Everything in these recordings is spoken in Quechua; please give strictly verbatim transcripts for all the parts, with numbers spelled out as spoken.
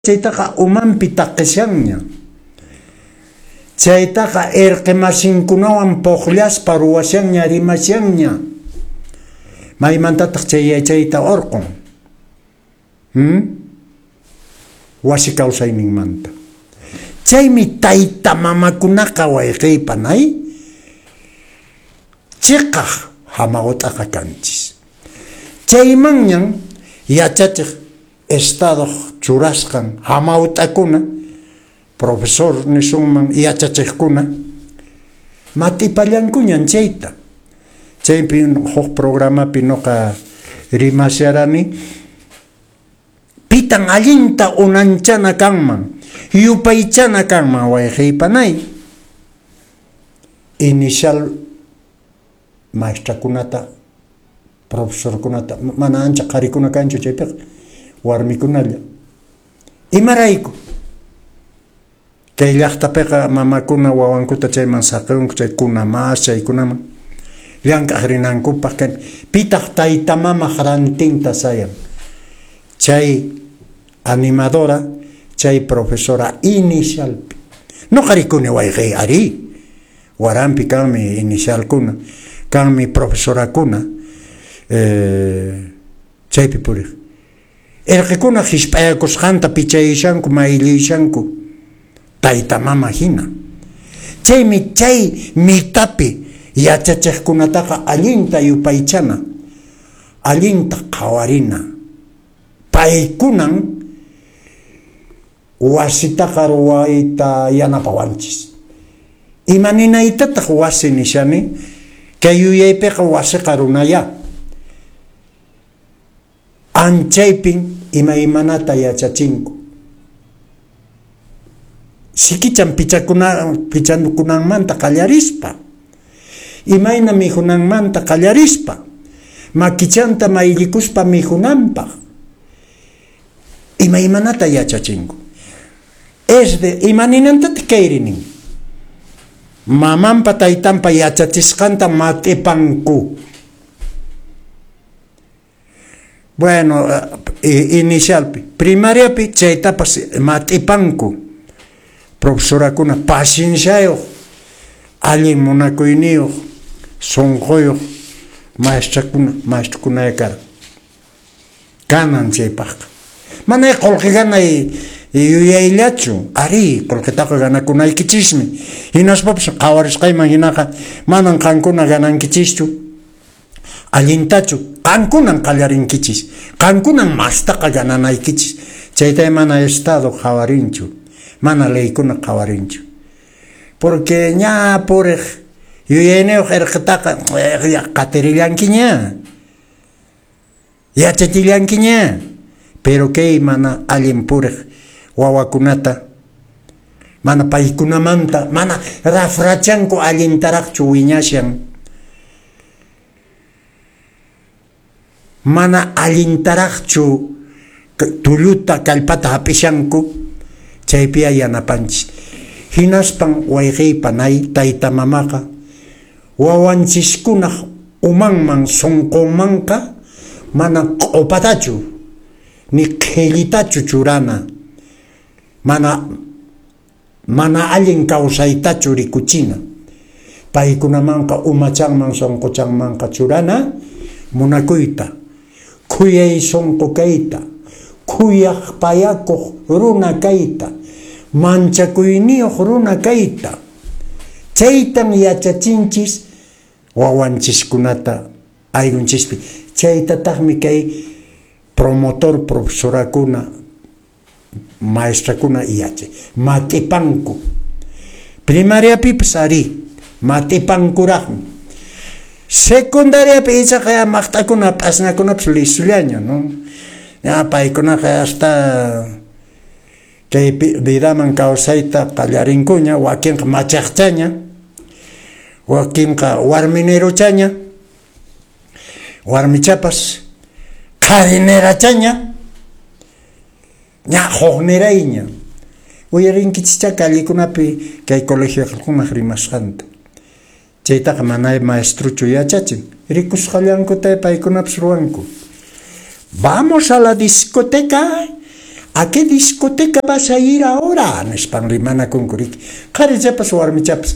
Chaytaqa umanpi taqishanña. Chaytaqa irqi masinkunawan puqllaspa ruwashanña, rimashanña. Maymantataq chay yachayta urqun? Hmm? Wasi kawsayninmanta. Chaymi tayta mamakunaqa, wayqiy panay, chiqaq hamawt'aqa kanchis. Chaymanñan yachachiq Estadoq churasqan hamawt'akuna, profesor nisunman, yachachiqkuna, mat'ipallankuñan chayta. Chaypi huk programapi noqa rimasharani, pitan allinta unanchana kanman, yupaychana kanman, wayqiy panay? Inicial maestrakunata, profesorkunata, mana ancha qharikuna kanchu chaypiqa, warmikunalla. Imarayku? Kay llaqtapiqa mamakuna wawankuta chayman saqinku, chaykuna mas chaykunaman llank'aq rinankupaq. Pitaq tayta mamaq rantinta sayan? Chay animadora, chay profesora inicialpi. Noqa rikuni, wayqiy, arí, waranpi kanmi inicialkuna, kanmi profesorakuna, eh, chaypi puriq. Irqikuna hisp'ayakusqanta pichayishanku, mayllishanku, tayta mama hina. Chaymi chay mitapi yachachiqkunataqa allinta yupaychana, allinta qhawarina. Paykunan wasitaqa ruwayta yanapawanchis. Ima ninaytataq wasi nishani? Kay yuyaypiqa wasiqa runaya. Anchaypin imaymanata yachachinku. Sikichan pichakuna, pichakunanmanta qallarispa, imayna mikhunanmanta qallarispa, makichanta mayllikuspa mikhunanpaq, imaymanata yachachinku. Es de ima ninantataq kayri nin? Mamanpa taytanpa yachachisqanta mat'ipanku. Bueno, inicialpi, primariapi chaytapas mat'ipanku. Profesorakuna pacienciayuq, allin munakuyniyuq, sunquyuq maestrakuna, maestrokuna karqa. Kanan chaypaqqa. Mana qullqi ganay yuyayllachu, arí, qullqitaqa ganakunaykichismi. Hinaspapas qhawarisqayman hinaqa manan qankuna ganankichischu. Allintachu, qankunan qallarinkichis, qankunan mastaqa gananaykichis. Chayta mana Estado qhawarinchu, mana leykuna qhawarinchu. Porque ña puriq yuyayniyuq irqitaqa qatirillankiña, yachachillankiña. Pero kay mana allin puriq wawakunata, mana paykunamanta, mana rafrachanku allintaraqchu wiñashan. Mana allintaraqchu tulluta kallpata hap'ishanku, chaypiya yanapanchis. Hinaspan wayqiy panay tayta mamaqa wawanchiskunaq umanman sunqunmanqa mana q'upatachu ni qhillitachu churana, mana mana allin kawsaytachu rikuchina. Paykunamanqa umachanman sunquchanmanqa churana munakuyta, khuyay sunqu kayta, khuyaq payakuq runa kayta, manchakuyniyuq runa kayta. Chaytan yachachinchis wawanchiskunata ayllunchispi. Chaytataqmi kay promotor profesorakuna, maestrakuna yachay mat'ipanku. Primariapipas arí, mat'ipankuraqmi. Secundariapi ichaqa maqt'akuna p'asñakunapas lisullaña, ¿no? Ya paykunaqa hasta kay vidaman kawsayta qallarinkuña, wakinqa machaqchaña, wakinqa warminiruchaña, warmichapas qharinerachaña, ña huknirayña. Uyarinkichischá callekunapi kay colegiokunaq rimasqanta. Chaytaqa mana maestruchu yachachin, rikusqallankuta paykunapas ruwanku. Vamos a la discoteca, ¿A qué discoteca vas a ir ahora? Nispan rimanakunku, riki. Qharichapas warmichapas.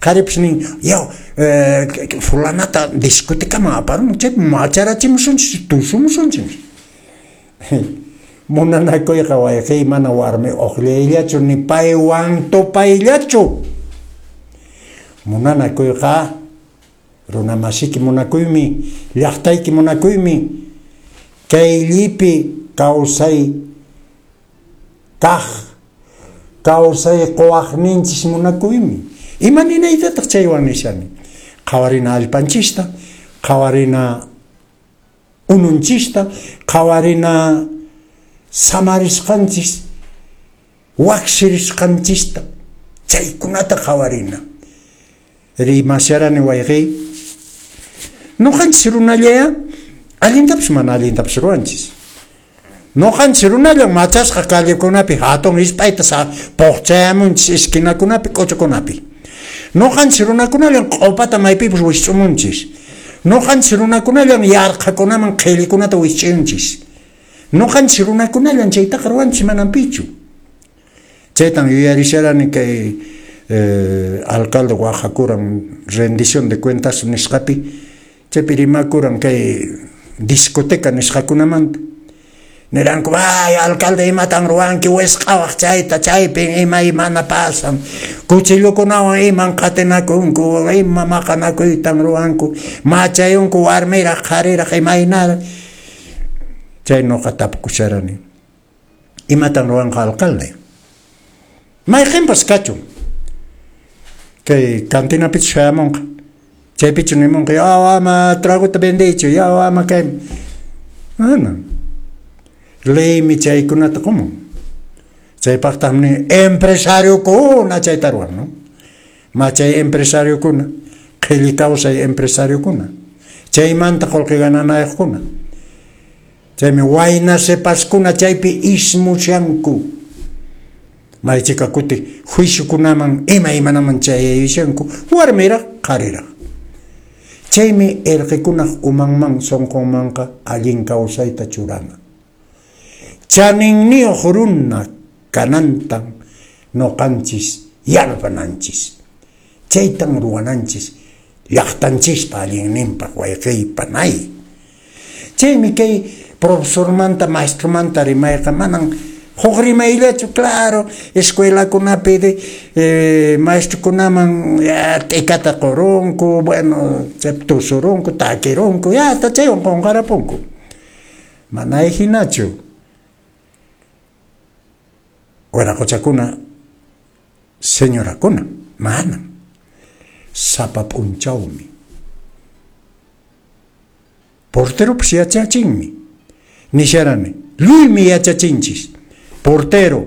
Qharipas nin, yaw, eh, fulanata discotecaman aparun, chaypi macharachimusunchis, tusumusunchis. Munanakuyqa wayqiy mana warmi uqllayllachu ni paywan tupayllachu. Munanakuyqa runa masiki munakuymi, llaqtayki munakuymi, kay llipi kawsay kaq, kawsay quwaqninchis munakuymi. Ima ninaytataq chaywan nishani? Qhawarina allpanchista, qhawarina ununchista, qhawarina samarisqanchis, waqsirisqanchista, chaykunata qhawarina. Rimasharani wayqiy, noqanchis runallaya allintapas mana allintapas ruwanchis. Noqanchis runallan machasqa callekunapi hatun hisp'ayta puqchayamunchis esquinakunapi, k'uchukunapi. Noqanchis runakunallan q'upata maypipas wisch'umunchis. Noqanchis runakunallan yarqhakunaman qhillikunata wisch'unchis. Noqanchis runakunallan chaytaqa ruwanchis manan pichu. Chaytan yuyarisharani kay eh, alcalde waqakuran rendición de cuentas nisqapi, chaypi rimakuran kay discoteca nisqakunamanta. Niranku, ay, alcalde, imatan ruwanki wisq'awaq chayta, chaypin ima imana pasan. Cuchillukunawan iman qatinakunku, ima maqanakuytan ruwanku, machayunku warmiraq, qhariraq, imaynara. Chay noqa tapukusharani. Imatan ruwanqa alcalde? Mayqinpas kachun. Kay cantinapichu shayamunqa. Chaypichu nimunqa, yaw ama tragota vendiychu, yaw ama kay. Mana. Leymi chaykunata qumun. Chaypaqtaqmi empresariokuna chayta ruwan, no? Machay empresariokuna, qhilli kawsay empresariokuna, chaymanta qullqi gananayuqkuna. Chaymi wayna sipaskuna chaypi ismushanku. Maychika kuti juiciokunaman ima imanaman chayayushanku, warmiraq, qhariraq. Chaymi irqikunaq umanman sunqunmanqa allin kawsayta churana. Chaninniyuq runa kanantan noqanchis yanapananchis. Chaytan ruwananchis llaqtanchispa allinninpaq wayqiy panay. Chaymi kay profesormanta maestromanta rimayqa manan huk rimayllachu, claro, escuelakunapi de eh, maestrokunaman ya t'ikata qurunku, bueno, tusurunku, takirunku, ya hasta chaywan qunqarapunku. Mana hinachu. Wiraquchakuna, señorakuna, manam. Sapa p'unchawmi. Porteropas yachachinmi. Nisharani, lluymi yachachinchis. Portero,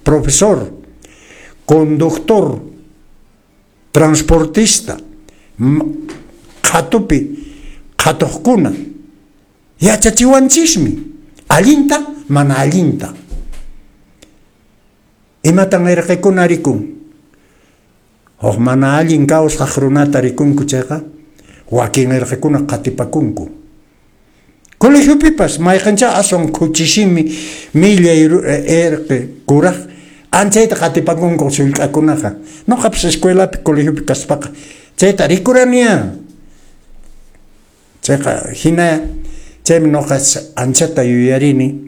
profesor, conductor, transportista, qhatupi, qhatuqkuna, yachachiwanchismi. Allinta, mana allinta. Imatan irqikuna rikun? Huk mana allin kawsaq runata rikunku chayqa, wakin irqikuna qatipakunku. Colegiopipas mayqancha aswan khuchisimi millay irqi kuraq anchayta qatipakunku sullk'akunaqa. Noqapas escuelapi colegiopi kaspaqa chayta rikuraniya. Chayqa hina chaymi noqa anchata yuyarini.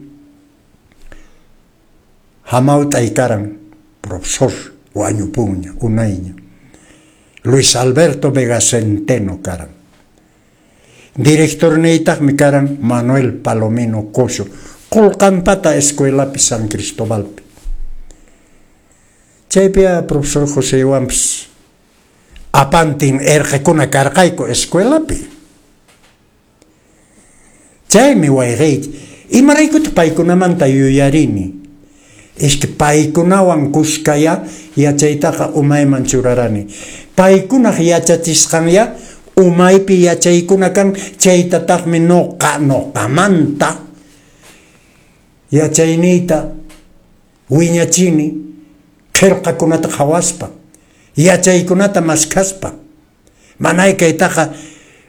Hamawt'ay karan profesor wañupunña unayña. Luis Alberto Vega Centeno karan. Directorniytaqmi karan Manuel Palomino Coso, Qulqanpata escuelapi San Cristobalpi. Chaypi profesor Josewanpas apantin irqikuna karqayku escuelapi. Chaymi wayqiyki, imaraykutaq paykunamanta yuyarini? Es que paykunawan kuskaya yachaytaqa umayman churarani. Paykunaq yachachisqanya umaypi yachaykuna kan, chaytataqmi noqa noqamanta yachayniyta wiñachini qillqakunata qhawaspa, yachaykunata maskhaspa. Manay kaytaqa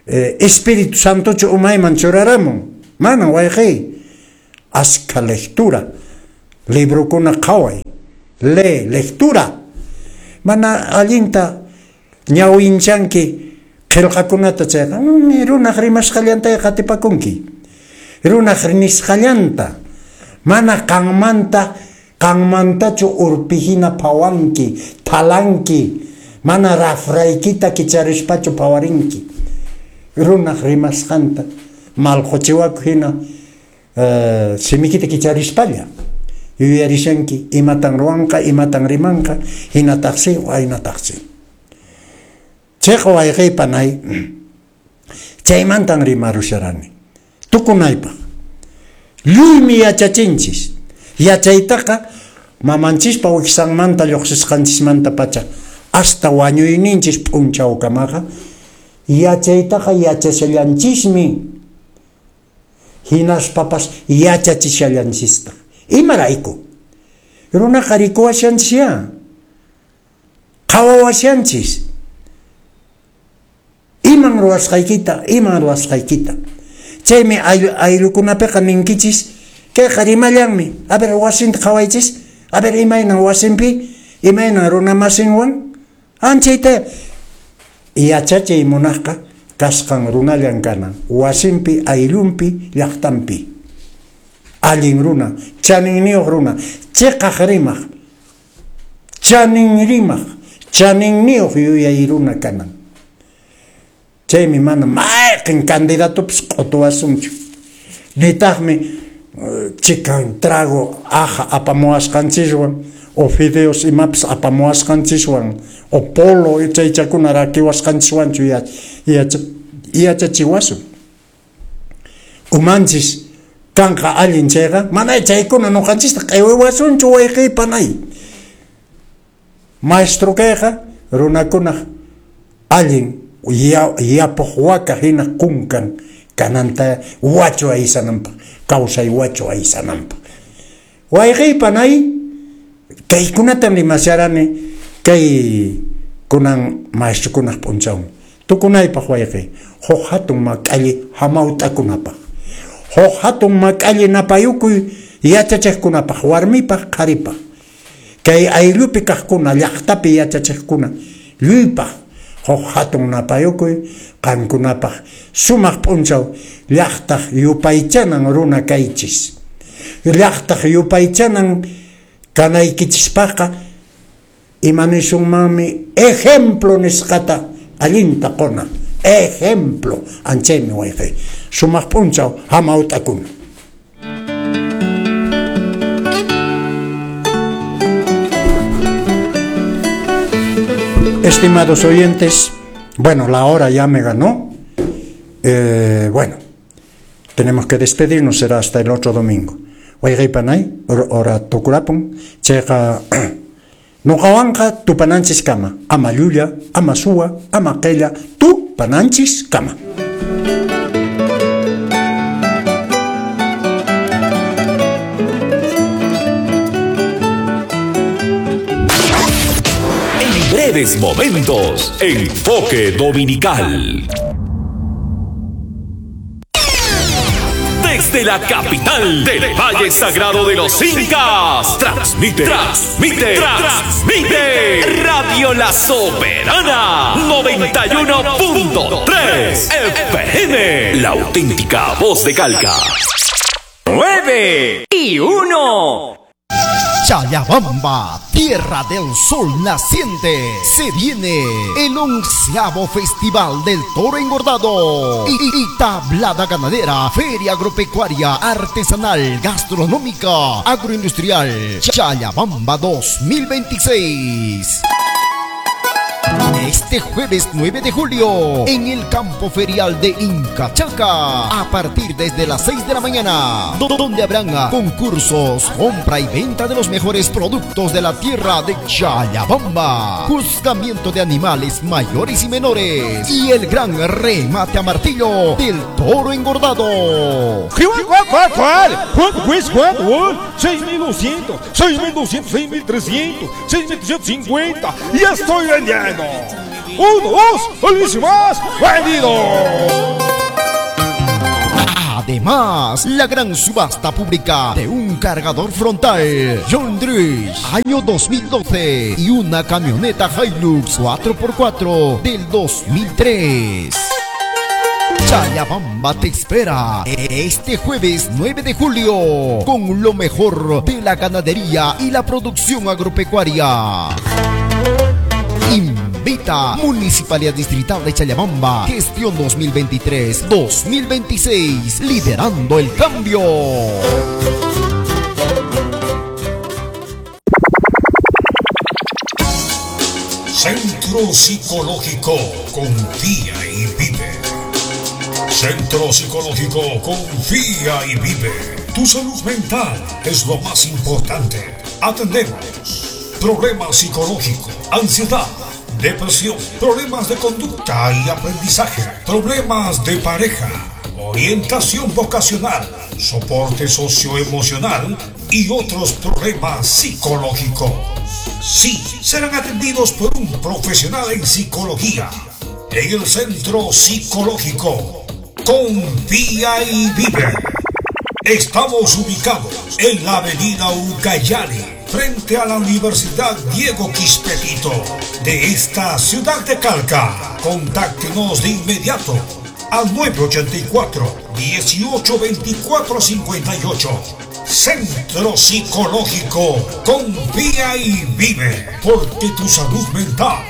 eh, Espíritu Santochu umayman churaramun. Manan wayqiy. Askha lectura, Librokuna qhaway, lee, lectura. Mana allinta ñawinchanki qillqakunata chayqa, runaq rimasqallanta qatipakunki. Runaq nisqallanta mana qanmanta qanmantachu urpihina phawanki, thalanki, mana rafraykita kicharispachu phawarinki. Runaq rimasqanta malquchiwaku hina uh, simikita kicharispalla yuyarishanki imatan ruwanqa, imatan rimanqa, hinataqsi, waynataqsi. Chayqa wayqiypanay chaymantan rimarusharani tukunaypaq. Lluymi yachachinchis. Yachaytaqa mamanchispa wiksanmanta lluqsisqanchismantapacha hasta wañuyninchis p'unchawkamaqa yachaytaqa yachashallanchismi, hinaspapas yachachishallanchistaq. Imarayku? Runaqa rikuwashanchis, qhawawashanchis. Iman ruwasqaykita, iman ruwasqaykita. Chaymi ayllukunapiqa ninkichis, kayqa rimallanmi. A ver, wasinta qhawaychis. A ver, imaynan wasinpi, imaynan runamasinwan. Anchayta yachachiy munaqqa kasqan runallan kanan. Wasinpi, ayllunpi, llaqtanpi. Allin runa, chaninniyuq runa, chiqaq rimaq, chanin rimaq, chaninniyuq yuyay runa kanan. Chaymi mana mayqin candidatopis q'utuwasunchu. Nitaqmi chikan trago aja apamuwasqanchiswan, o fideos imapis apamuwasqanchiswan, o polo chaychakuna rakiwasqanchiswanchu yachachiwasun. Umanchis kanqa allin chayqa, mana chaykuna nuqanchista q'iwiwasunchu wayqiypanay. Maestro kayqa runakunaq allin yapuq waka hina kunkan kananta wachu aysananpaq, kawsay wachu aysananpaq. Wayqiypanay kaykunatam rimasharani kay kunan maestrokunaq p'unchawmi. Tukunaypaq wayqiy, huk hatun mak'alli hamawt'akunapaq, huk hatun mak'alli napayukuy yachachiqkunapaq, warmipaq, qharipaq, kay ayllupi kaqkuna, llaqtapi yachachiqkuna, lluypaq huk hatun napayukuy qankunapaq sumaq p'unchaw llaqtaq yupaychanan runa kaychis. Llaqtaq yupaychanan kanaykichispaqqa imanisunmanmi ejemplo nisqata allinta quna. Ejemplo, anchaymi wayqi. Sumaq p'unchaw hamawt'akuna. Estimados oyentes, bueno, la hora ya me ganó. Eh, bueno, tenemos que despedirnos, será hasta el otro domingo. Wayqiypanay, hora tukurapun, chayqa nuqawanqa tupananchis kama, ama llulla, ama suwa, ama qilla, tupananchis kama. En breves momentos, Enfoque Dominical. Desde la capital del Valle Sagrado de los Incas, transmite, transmite, transmite Radio La Soberana noventa y uno punto tres F M, la auténtica voz de Calca. nueve y uno. Challabamba, tierra del sol naciente, se viene el onceavo Festival del Toro Engordado y, y tablada ganadera, feria agropecuaria, artesanal, gastronómica, agroindustrial, Challabamba dos mil veintiséis. Este jueves nueve de julio, en el campo ferial de Incachaca, a partir desde las seis de la mañana, donde habrán concursos, compra y venta de los mejores productos de la tierra de Challabamba, juzgamiento de animales mayores y menores, y el gran remate a martillo del toro engordado. seis mil doscientos, seis mil doscientos, seis mil trescientos, seis mil trescientos cincuenta, ya estoy vendiendo. Uno, dos, más, vendido. Además, la gran subasta pública de un cargador frontal John Deere año dos mil doce y una camioneta Hilux cuatro por cuatro del dos mil tres. Challabamba te espera este jueves nueve de julio con lo mejor de la ganadería y la producción agropecuaria. Invita Municipalidad Distrital de Challabamba, gestión dos mil veintitrés dos mil veintiséis, liderando el cambio. Centro Psicológico Confía y Vive. Centro Psicológico Confía y Vive. Tu salud mental es lo más importante. Atendemos problemas psicológicos, ansiedad, depresión, problemas de conducta y aprendizaje, problemas de pareja, orientación vocacional, soporte socioemocional y otros problemas psicológicos. Sí, serán atendidos por un profesional en psicología. En el Centro Psicológico Confía y Vive. Estamos ubicados en la avenida Ucayali, frente a la Universidad Diego Quispetito de esta ciudad de Calca. Contáctenos de inmediato al nueve ochenta y cuatro, dieciocho veinticuatro cincuenta y ocho. Centro Psicológico Confía y Vive, porque tu salud mental